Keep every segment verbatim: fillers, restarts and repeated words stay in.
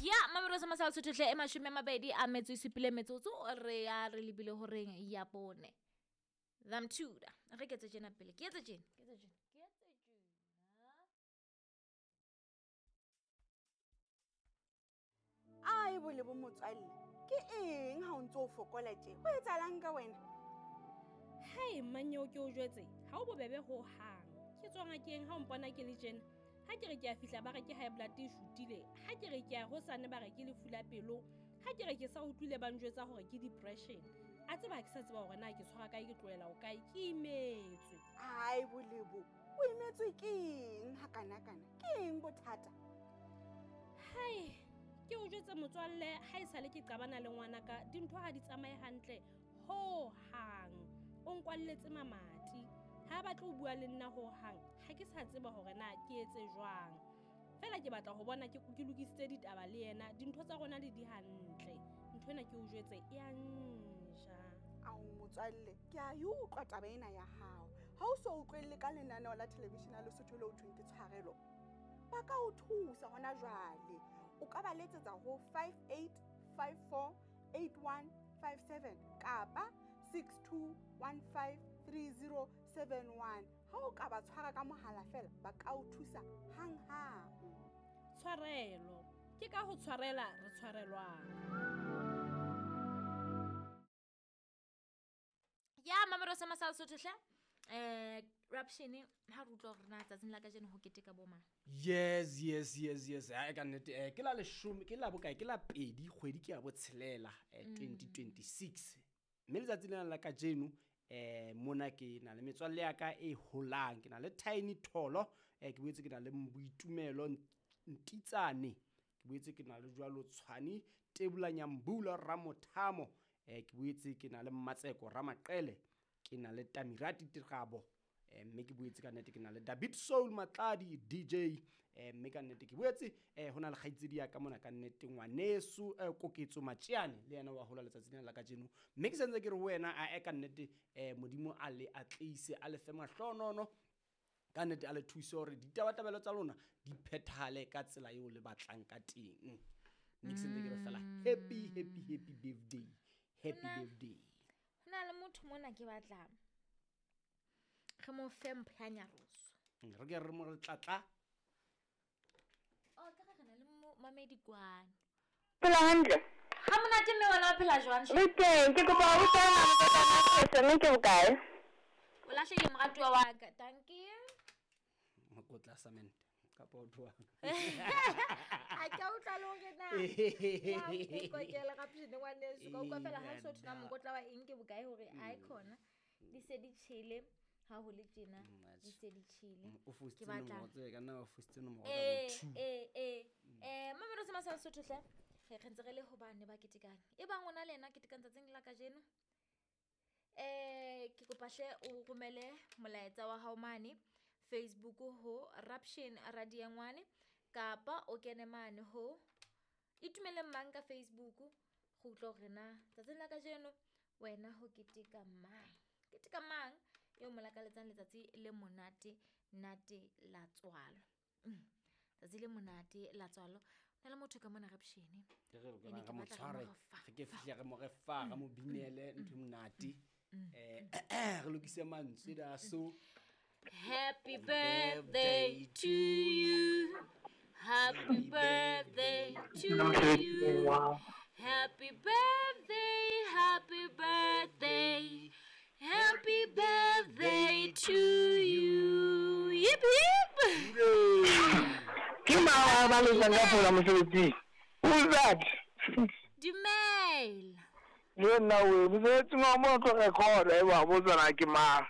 Ya Mamelodi sa Masala Sotho hle e mashome a mabedi a metso e supile metsotso re ya re lebile horeng ya bone. Zamthuda re ke etse tjena pele ke etse tjena ke etse tjena ke etse tjena. Ai bole bo motswalle, ke eng ha o ntso o fokola tje? Ho etsahalang ka wena? Hai mmanyeo ke o jwetse, ha o bobebe ho hang. Ke tswa ngakeng ha o mpona ke le tjena. Ha ke re ke a fihla ba re ke high blood e shutile, ha ke re ke a hosane ba re ke lefu la pelo, ha ke re ke sa utlwile ba njwetsa hore ke depression. A tseba ha ke sa tseba hore na ke tshwara kae ke tlohela ho kae, ke imetswe. Ai bolebo, o imetswe ke eng hakanakana? Ke eng bothata? Hai, ke o jwetse motswalle, ha esale ke qabana le ngwanaka, dintho ha di tsamaye hantle ho hang. O nkwalletse mamati. Ha ba tlo bua le nna ho hang, ha ke sa tseba hore na ke etse jwang. Fela ke batla ho bona ke ke lokisitse ditaba le yena, dintho tsa rona di di hantle. Ntho ena ke o jwetse e a nja. Ao motswalle, ke a e utlwa taba ena ya hao. Ha o so utlwelle ka lenaneo la television ya Lesotho leo thweng ke Tshwarelo, ba ka o thusa hona jwale. O ka ba letsetsa ho five eight five four eight one five seven kapa six two one five three zero seven one. Ha o ka ba tshwara ka mohala fela, ba ka o thusa hanghang. Tshwarelo, ke ka ho tshwarela re tshwarelwang. Ya Mamelodi sa Masala Sotho hle. Eh, Rapshene ha re utlwa hore na tsatsing la kajeno ho keteka bo mang? Yes, yes, yes, yes. Ha ka nnete, eh, ke la leshome, ke la bokae, ke la pedi kgwedi ke ya botshelela, eh, twenty twenty-six. Mme letsatsi lena la kajeno, eh, mona ke na le metswalle ya ka e holang, ke na le Tiny Tholo, eh, ke boetse ke na le Boitumelo Ntitsane, ke boetse ke na le jwalo Tshwane Tebula Nyambula Ramothamo, eh, ke boetse ke na le Mmatseko Ramaqele, ke na le Tamirati Tirabo, eh, mme ke boetse ka nnete ke na le David Soul Matladi D J, eh, mme ka nnete ke boetse, eh, ho na le kgaitsedi ya ka mona ka nnete ngwaneso, eh, Koketso Matjiane, le yena wa hola letsatsi lena la kajeno. Mme ke sentse ke re ho wena, a e ka nnete, eh, Modimo a le atleise, a le fe mahlonono, ka nnete a le thuse hore ditabatabelo tsa lona di phethahale ka tsela eo le batlang ka teng. Mme ke sentse ke re fela happy, happy, happy birthday, happy Hona birthday. Ho na le motho mona ke batlang re mo fe mpho ya nyaroso. Mm, re ke re mo re tlatla. Oh, ka re na le mo mamedi kwana. Phela hantle. Ha monate mme wena o phela jwang? Le teng, ke kopa ho utlwa mokotla mme ke bokae? O lahlehile moratuwa wa ka. Dankie. Mokotla cement kapa o tloha. Ha ke a utlwa le hore na. Wa nkokela ka phene ngwaneso, ka utlwa fela ha o so thona mokotla wa eng ke bokae hore ai khona. Di se di tjhele. Ha ho le tjena, Mm, di se di tjhele. Mm, o fositse Ke batla nomoro tse, ka nna wa fositse nomoro ka Eh, bo two. eh, eh. Eh, Mamelodi sa Masala Sotho hle. Re re ntse re le hobane ba ketekang. E bang ona le yena ketekang tsatsing la kajeno. Eh, ke kopa hle o romele molaetsa wa hao mane Facebook ho Rapshen Radiangwane, kapa o kene mane ho Itumeleng Mang ka Facebook, go utlwa hore na tsatsing la kajeno wena ho keteka mang. Keteka mang eo mo lakaletsang letsatsi le monate nate la tswalo. Mm. Tsatsi le monate la tswalo. Ho na le motho ka mona Rapshene. Ke re Ene re ke mo batla re tshware, mo re fa. re ke fihle re mo re fa, re mo binele ntho e monate. Mm. Eh, re lokise mantswe da so. Happy birthday to you. Happy birthday to you. Happy birthday, happy birthday. Happy birthday to you. Yip yip. Ke mang wa ba letsang ka fola mosebetsing? Who's that? Dumela. Le nna we, mosebetsing wa mo tlo record e ba botsa na ke mang.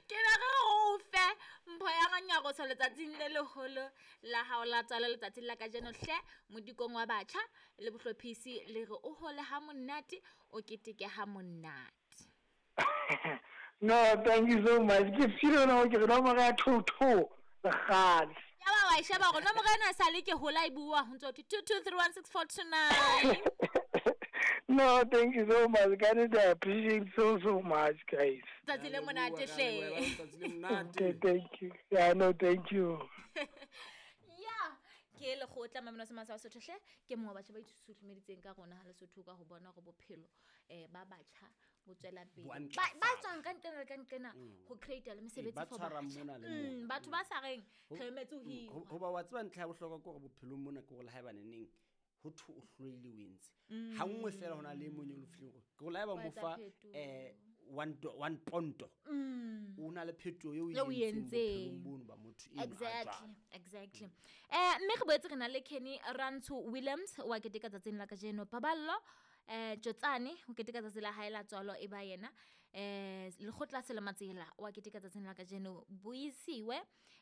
Ke na re o fe mpho ya nyaroso letsatsing le leholo la hao la tswalo letsatsing la kajeno hle modikong wa batjha le bohlophisi le re o hole ha monate o keteke ha monate. No, thank you so much. Ke feel na ke re nomoro ya two two le kgale. Ya ba wa e sheba hore nomoro ena e sale ke hola e bua ho ntso two two three one six four two nine. No, thank you so much. Guys, I appreciate so, so much, guys. Tsatsi le monate hle. Tsatsi le monate. Okay, thank you. Yeah, no, thank you. Yeah, ke Ke lekgotla Mamelo Semasa wa Sotho hle ke mongwe wa batjha ba itshutsumeditseng ka rona ha Lesotho ka ho bona hore bophelo eh ba batjha bo tswela pele. Bo a Ba ba ntlafala. tswang ka nqena le ka nqena ho create le Ee, mesebetsi ba for tshwarang batjha. mona le Mm, mona. batho ba sa reng Ho- re emetse ho Mm, hirwa. ho- hoba wa tseba ntlha ya bohlokwa ke hore bophelong mona ke hore le haeba neneng ho thwe o hloile o entse ha nngwe fela ho na le e mong eo lefileng hore ke hore le haeba Wa mo etsa fa phetoho. um one do- one ponto Mm. o na le phetoho eo Eo o o e entseng entseng. bophelong bono ba motho eno a Exactly, jwalo. exactly. Eh mme re boetse re na le Kenny Rantsho Williams wa keteka tsatsing la kajeno. Paballo eh Tjotsane o keteka tsatsi la hae la tswalo e ba yena. Eh Lekgotla Selematsela wa keteka tsatsing la kajeno. Buisiwe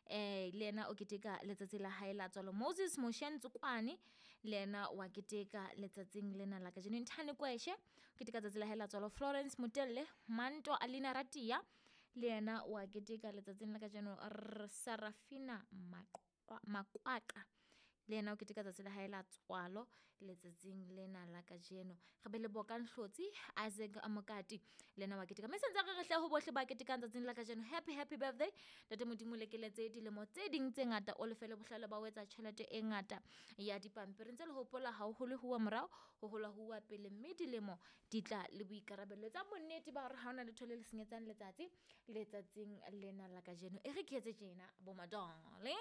eh le yena o keteka letsatsi la hae la tswalo. Moses Moshe Ntsukwane le yena wa keteka letsatsing lena la kajeno. Nthane Kweshe o keteka tsatsi la hae la tswalo. Florence Motelle, Manto Alina Ratia le yena wa keteka letsatsing la kajeno. R Sarafina Maqwa- Makwaqa le yena o keteka tsatsi la hae la tswalo letsatsing lena la kajeno. Re be le Bokang Hlotsi, Isaac Mokati le yena wa keteka. Mme sentse re re hle ho bohle ba ketekang tsatsing la kajeno. Happy happy birthday. Ntate Modimo o lekeletse dilemo tse ding tse ngata, o lefele bohlale ba ho etsa tjhelete e ngata ya dipampiri. Ntse le hopola ha ho hole huwa morao, ho hola huwa pele, mme dilemo di tla le boikarabelo. Etsa bonnete ba hore ha hona letho le le senyetsang letsatsi letsatsing lena la kajeno. E re ke etse tjena bo my darling.